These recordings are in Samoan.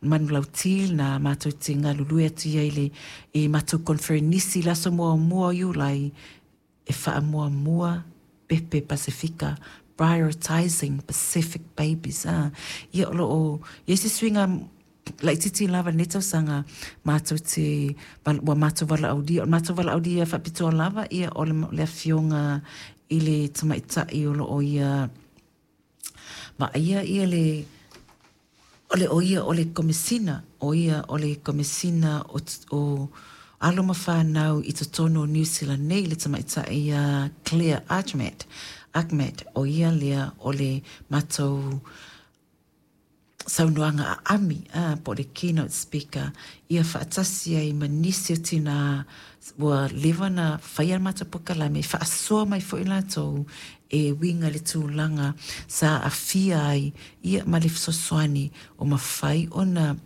Manulauti lena matou te galulue atu i ai i le i matou koneferenisi i le aso muamua o Iulai e faamuamua pepe Pasefika, Prioritising Pacific Babies, a, ia o lo o i ai se suiga laitiiti lava i lenei tausaga, matou te, ua matou valaaulia, o le matou valaaulia faapitoa lava, ia o le Afioga i le Tamaitai o lo o ia vaaia ia le, o le, o ia o le Komesina, o ia o le Komesina o, o alo ma fanau i totonu o Niu Sila nei, le tamaitai ia Claire Achmat, Achmat, o ia lea o le matou saunoaga aami, a, po o le keynote speaker, ia faatasi ai ma nisi o tinā ua leva ona faia le matou polokalame, e faasoa mai foi latou e uiga i le tulaga sa aafia ai ia ma le fesoasoani o mafai ona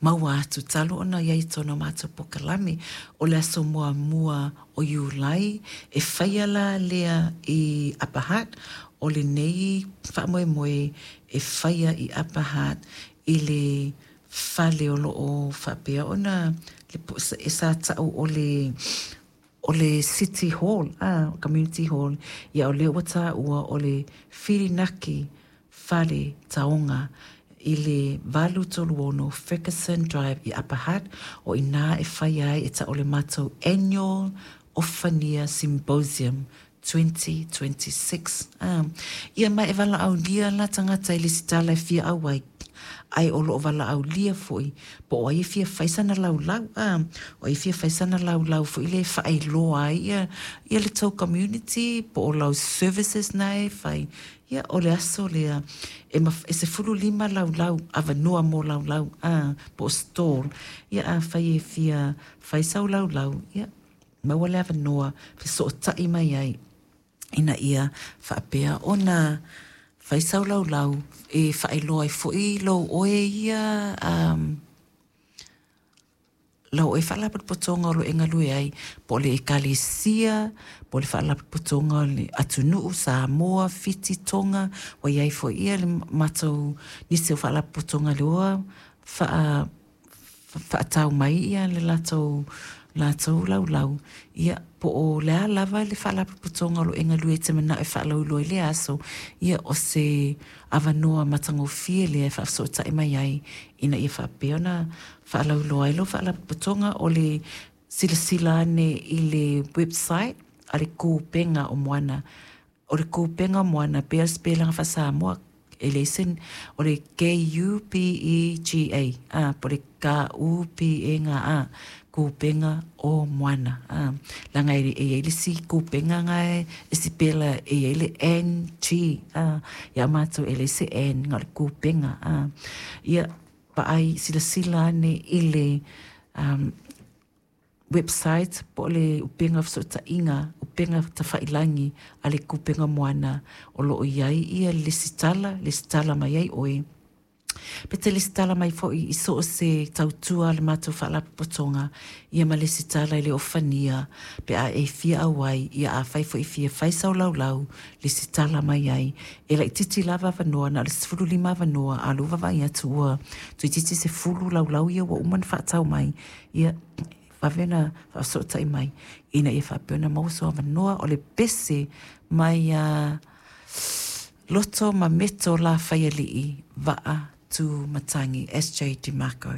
maua atu talu ona i ai i totonu o matou polokalame. O le aso muamua o Iulai e faia la lea i Upper Hutt, o lenei faamoemoe e faia i Upper Hutt i le fale o lo o faapea ona e sa tau o le o le City Hall, a, Community Hall, ia o lea ua taua o le Whirinaki Fale Taonga i le 836 Fergusson Drive i Upper Hutt, o i inā e faia ai e tau o le matou Annual Ofania Symposium 2026. A, ia ma e valaaulia la tagata i lesitala e fia auai, ae o lo o valaaulia foi po o ai e fia fai sana laulau, a, o ai e fia fai sana laulau foi lea e faailoa ai ia, ia le tou community po o lau services na e fai. Ia, o le aso lea, e, e 15 laulau, avanoa mo laulau, a, po o stall. Ia, afai e fia fai sau laulau, ia, maua le avanoa fesootai mai ai ina ia faapea ona fai sau laulau e faailoa ai foi lou oe ia um, lau oe faalapotopotoga o lo o e galue ai, po o le Ekalesia, po o le faalapotopotoga o le atunuu, Samoa, Fiti, Tonga, ua i ai foi ia le matou nisi o faalapotopotoga lea ua faa faatau mai ia le latou latou laulau, ia po o le a lava le faalapotopotoga o lo o e galue e te manao e faalauiloa i lea aso, ia o se avanoa matagofie lea e faafesootai mai ai ina ia faapea ona faalauiloa ai lau faalapotopotoga. O le silasila ane i le website a le Kupenga o Moana, O le Kupenga o Moana pei o le sipelaga faa-Samoa, e leai se, o le K-U-P-E-G-A, a, po o le K-U-P-E-G-A, Kupenga o Moana, a. Leaga e i ai le isi kupenga na e sipela e i ai le N-G, a, ia matou e leai se N, na o le Kupenga, a. Ia, vaai, silasila ane i le um, website po o le upega fesootaiga, upega tafailangi a le Kupenga Moana o lo o i ai ia lesitala, lesitala mai ai oe. Pe te lesitala mai foi i so o se tautua a le matou faalapotopotoga, ia ma lesitala i le ofania pe a e fia auai, ia afai foi e fia fai sau laulau, lesitala mai ai. E laitiiti lava avanoa, na o le 15 avanoa, a o lea ua vaavaai atu ua toeitiiti 10 laulau ia ua uma ona faatau mai, ia vave ona faafesootai mai ina ia faapea ona maua sou avanoa. O le pese mai a Loto ma Meto Lafaialii Vaa Tu Matangi, SJ DeMarco.